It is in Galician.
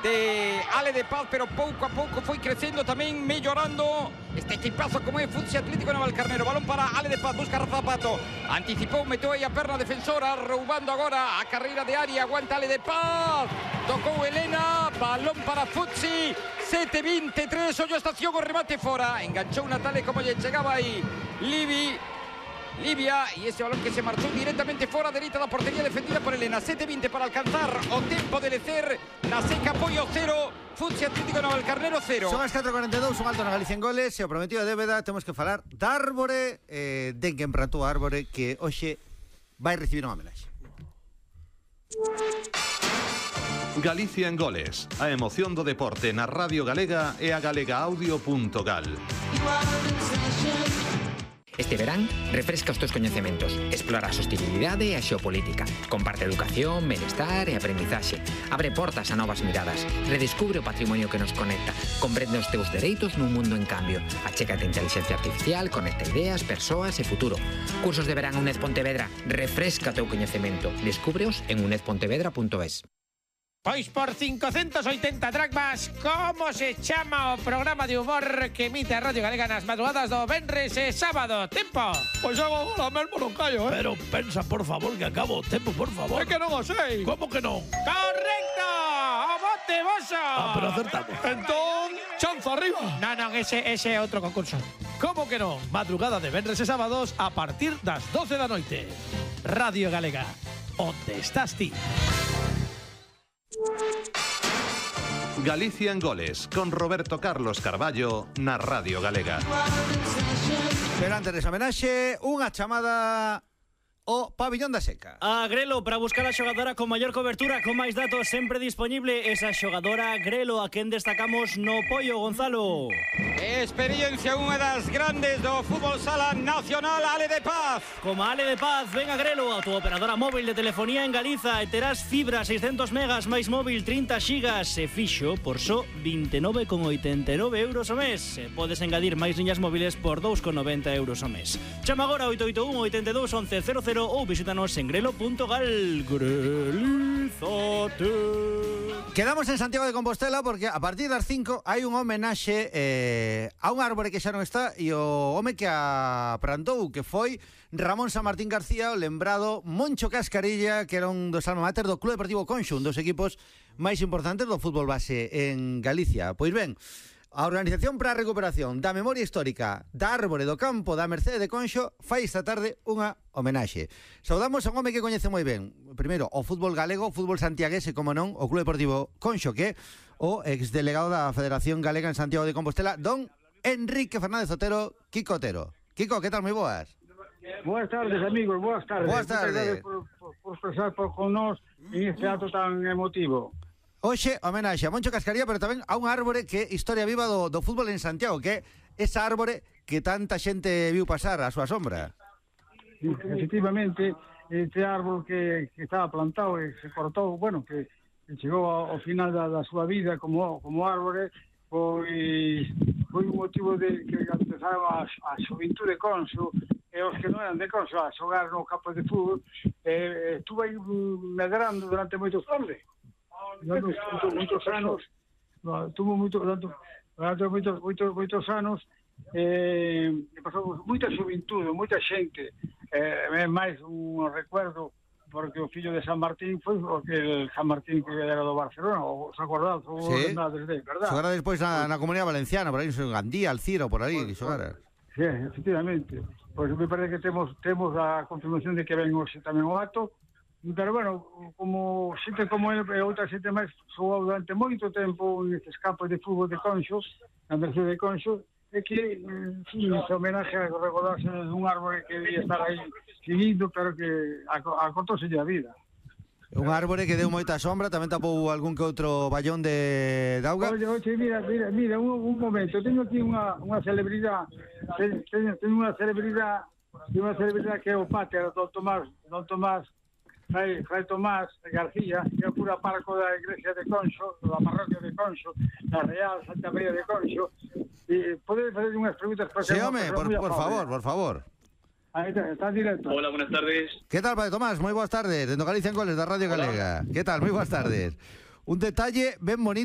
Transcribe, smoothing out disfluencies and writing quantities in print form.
de Ale de Paz, pero pouco a pouco foi crecendo tamén, mellorando este equipazo como é Futsi Atlético Navalcarnero. Balón para Ale de Paz, busca Rafa Pato, anticipou, meteu aí a perna defensora, roubando agora a carreira de área, aguanta Ale de Paz, tocou Elena, balón para Futsi, 7-23, ollo a estación, o remate fora, enganchou Natale como lle chegaba aí Livia, y ese balón que se marchó directamente fora, dereita da portería defendida por Elena. 7-20 para alcanzar o tempo de Lecer, na seca apoio 0, Futsi Atlético Navalcarnero 0. Son as 4:42, un alto na Galicia en goles, e o prometido de débeda, temos que falar da Árbore, de quen plantou a Árbore, que hoxe vai recibir unha homenaxe. Galicia en goles, a emoción do deporte na Radio Galega e a galegaaudio.gal. Este verán, refresca os teus coñecementos, explora a sostenibilidade e a xeopolítica, comparte educación, benestar e aprendizaxe, abre portas a novas miradas, redescubre o patrimonio que nos conecta, comprende os teus dereitos nun mundo en cambio, achégate a inteligencia artificial, conecta ideas, persoas e futuro. Cursos de verán UNED Pontevedra, refresca o teu coñecemento, descúbreos en unedpontevedra.es. Pois por 580 dracmas, como se chama o programa de humor que emite a Radio Galega nas madrugadas do venres e sábado? Tempo! Pois eu agora mesmo non callo, Pero pensa, por favor, que acabo o tempo, por favor. É que non o sei. Como que non? Correcto! O bote voso! Pero acertamos. Entón, chanza arriba. Non, ese é outro concurso. Como que non? Madrugada de venres e sábados a partir das 12 da noite. Radio Galega, onde estás ti? Galicia en goles, con Roberto Carlos Carballo na Radio Galega. Pero antes desa homenaxe, unha chamada o Pabillón da Seca. A Grelo, para buscar a xogadora con maior cobertura, con máis datos sempre disponible. Esa xogadora Grelo, a quen destacamos no Pollo, Gonzalo. Experiencia, unha das grandes do fútbol sala nacional, Ale de Paz. Como Ale de Paz, ven a Grelo, a tu operadora móvil de telefonía en Galiza, e terás fibra 600 megas máis móvil 30 xigas e fixo por só 29,89 euros o mes. E podes engadir máis liñas móviles por 2,90 euros o mes. Chama agora 881 82 11 00 ou visítanos en grelo.gal. Grelizate. Quedamos en Santiago de Compostela porque a partir das 5 hai un homenaxe a un árbore que xa non está e o home que a plantou, que foi Ramón San Martín García, o lembrado Moncho Cascarilla, que era un dos alma mater do Club Deportivo Conxo, un dos equipos máis importantes do fútbol base en Galicia. Pois ben, a Organización para a Recuperación da Memoria Histórica da Árbore do Campo da Mercede de Conxo fai esta tarde unha homenaxe. Saudamos a un home que coñece moi ben, primeiro, o fútbol galego, o fútbol santiaguese, como non, o Club Deportivo Conxo, que é o exdelegado da Federación Galega en Santiago de Compostela, don Enrique Fernández Otero, Kiko Otero. Kiko, que tal? Moi boas. Boas tardes, amigos, boas tardes. Boas tardes. Por expresar con nós en este acto tan emotivo. Hoxe, homenaxe a Moncho Cascarilla, pero tamén a un árbore que é historia viva do fútbol en Santiago, que é esa árbore que tanta xente viu pasar a súa sombra. Efectivamente, este árbol que estaba plantado e se cortou, bueno, que chegou ao final da súa vida como árbore, foi un motivo de que empezaron a xuventude de Conxo e os que non eran de Conxo a xogar no campo de fútbol, estuvo aí medrando durante moitos anos. Muitos anos, tuvo moitos anos, pasou moita xuventude, moita xente, máis un recuerdo, porque o fillo de San Martín foi el San Martín que era do Barcelona, os acordados, os ordenades de, verdad? Xogara despois na Comunidade Valenciana, por aí, en Gandía, Alcira, por aí, xogara. Sí, efectivamente. Pois me parece que temos a confirmación de que ven hoxe tamén o acto. Pero, bueno, como xente como ele e outra xente máis xogou durante moito tempo nestes campos de fútbol de Conxo, na Mercede de Conxo, é que, sí, se homenaje a recordarse dun árbore que debía estar aí seguindo, pero que acortóse a vida. Un árbore que deu moita sombra, tamén tapou algún que outro vallón de auga. Oye, mira, un momento, teño aquí unha celebridade, teño unha celebridade que é o pater, don Tomás Fray Tomás García, que é o cura párroco da iglesia de Conxo, da parroquia de Conxo, da Real Santa María de Conxo. Pode facer unhas preguntas para sí, home, por favor. Ahí está directo. Hola, buenas tardes. ¿Qué tal, Padre Tomás? Moi boas tardes. Dendo Galicia en Goles da Radio Galega. ¿Qué tal? Moi boas tardes. Un detalle ben bonito